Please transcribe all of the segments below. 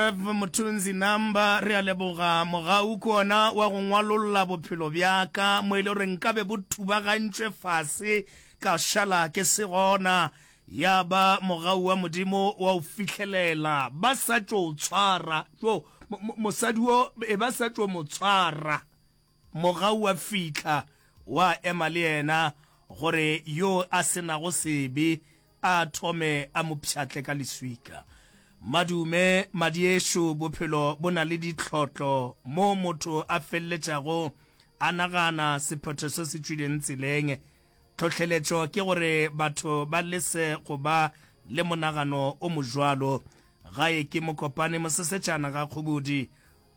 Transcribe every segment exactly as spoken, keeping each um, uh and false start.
Zef Mothunzi Namba, re a leboga. Mogau ke ona wa go ngwalolla bophelo bja ka mo e le gore nkabe bo thubagantšwe fase ka šala ke se gona. Ya ba mogau wa Modimo wa o fihlelela. Ba sa tšo o tshwara. Jo, mosadi wo e ba sa tšo mo tshwara. Mogau wa fihla wa ema le yena gore yo a se nago sebe a thome a mo pšhatle ka leswika. Madume, Madiešo, bophelo bo na le ditlhotlo moo motho a feleletšago a nagana sephetho se se tšwileng tseleng. Tlhohleletšo ke gore batho ba lese go ba le monagano o mojwalo. Gae ke Mokopane Mosesetšana ga Kgobodi.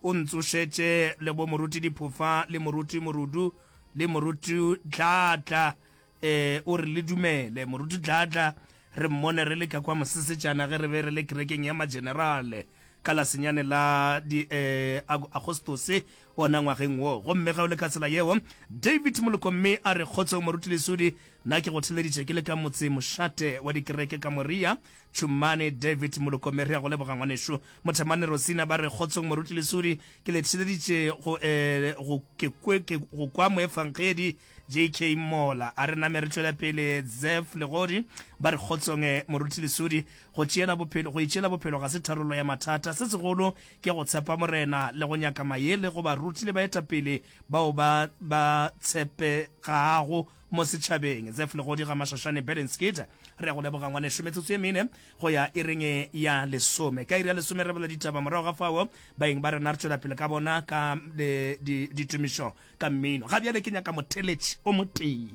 O ntsošetše le bo Moruti Diphofa le Moruti Morudu le Moruti Dladla. E, o re le dumele. Moruti Dladla re mmone re le ka kwa Mosesetšana ge re be re le kerekeng ya Magenerale ka la senyane la di, e, Agostose wona ngwageng wo. Gomme ge o le ka tsela yeo, David Molokomme a re, Kgotsong Moruti Lesodi, nna ke go theleditše ke le ka motse mošate wa dikereke ka Moria, Tšhumane. David Molokomme, re a go leboga ngwanešu. Mothemane Rosina ba re, Kgotsong Moruti Lesodi, ke le theleditše go, e, go, ke kwe, ke, go kwa moefangedi J K Mola. A re name re tšwele pele. Zef Legodi ba re, Kgotsong Moruti Lesodi, go tšeela bophelo, go itšeela bophelo ga se tharollo ya mathata. Se segolo ke go tshepa Morena le go nyaka mayele go baruti le baetapele bao ba ba tshepegago mo setšhabeng. Zef Legodi ga Mašašane Bedenskit, re a go leboga ngwanešu. Metsotso ye mene go ya iring ya lesome. Ka iri ya lesome re bala ditaba, morago ga fao baeng ba rena re tšwela pele ka bona ka ditumišo ka mmino. Ga bjale ke nyaka motheletši o motee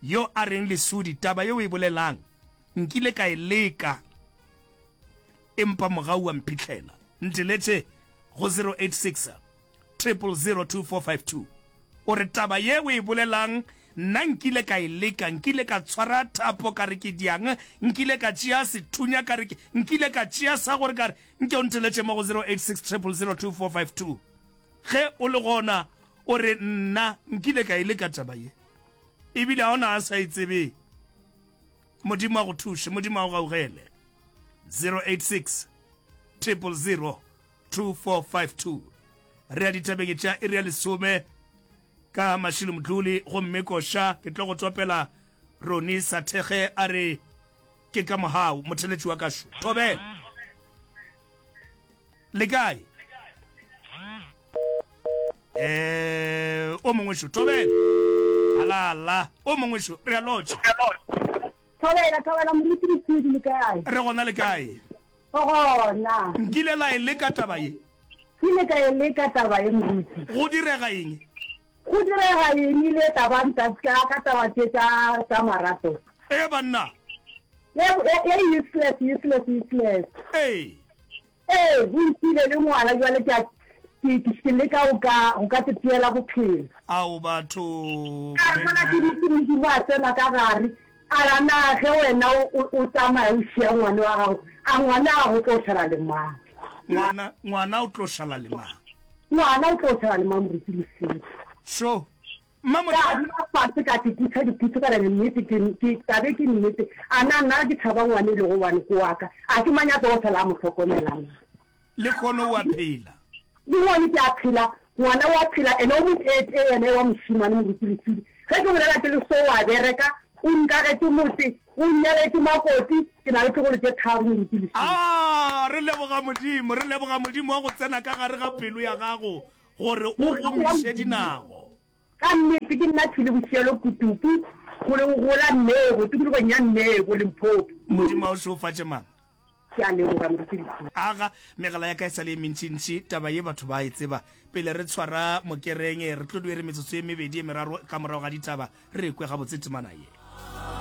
yo a reng, Lesodi, taba ye o e bolelang nkile ka e leka, empa mogau wa mphihlela. Nteletše go zero eight six triple zero two four five two. O re taba ye o e bolelang nna nkile ka e leka, nkile ka tshwara thapo ka re ke diang, nkile ka tšea sethunya ka re ke, nkile ka tšea sa gore ka re, nke o nteletše mo go zero eight six triple zero two four five two. Ge o le gona o re nna nkile ka e leka taba ye, ebile ga ona a sa e tsebeng. Modimo a go thuše, Modimo a go gaugele. zero eight six triple zero two four five two. Re ya ditabeng tša iri ya lesome ka Mashilo Mdluli, gomme koša ke tlo go tsopela Roni Sathege a re ke ka mogau motheletši wa kašo. Thobela. Le kae? Eh, o mongwe šo, thobela. Alala, o mongwe šo, re a lotšha. Thobela, thobela, moruti Lesedi, le kae? Re gona, le kae? Re gona. Nkile la e leka taba ye? Kile ka e leka taba ye, moruti. Go direga eng? Go direga eng ile taba ntatka ka taba tše tša tša marato? Ee, banna. Ye, ye useless, useless, useless. Ee. Ee, o ntšhile le ngwana bjale ke a ke ke ke leka go ka go ka teteela bophelo. Ao batho. Ka re mola ke dutše Modimo a tsena ka gare a ra na ge wena o o o tsamaya o šia ngwana wa gago a ngwana a go tlo šala le mang? Ngwana ngwana o tlo šala le mang? Ngwana o tlo šala le mang Moruti Lesedi? Sho. Ka dula fase ka tekutha diputsu ka re nnete ke ke tabe ke nnete a na nna ke tšhaba ngwana e lego one ke wa ka a ke mang ya tlogo fela a mo hlokomela na. Lehono o a phela. Lehono ke a phela ngwana o a phela ene o moteetee yena e wa mošemane moruti Lesidi ge ke bolela ke le so o a bereka o nkagetše motse o nnyaletše makoti ke na le tlogolo tše tharo moruti Lesidi. Aa re leboga Modimo re leboga Modimo wa go tsena ka gare ga pelo ya gago gore o gomiše dinao. Ka nnete ke nna Thuli Boshielo Kutupu go le gola Nnebo, tikologong ya Nnebo, Limpopo. Modimo a o šegofatše mama. Ke a leboga Moruti Lesedi. Aga, megala ya ka e sa le ye mentšintši, taba ye batho ba e tseba. Pele re tshwara mokereng, re tlo di re metsotso ye mebedi ye meraro ka morago ga ditaba, re kwe gabotse temana ye.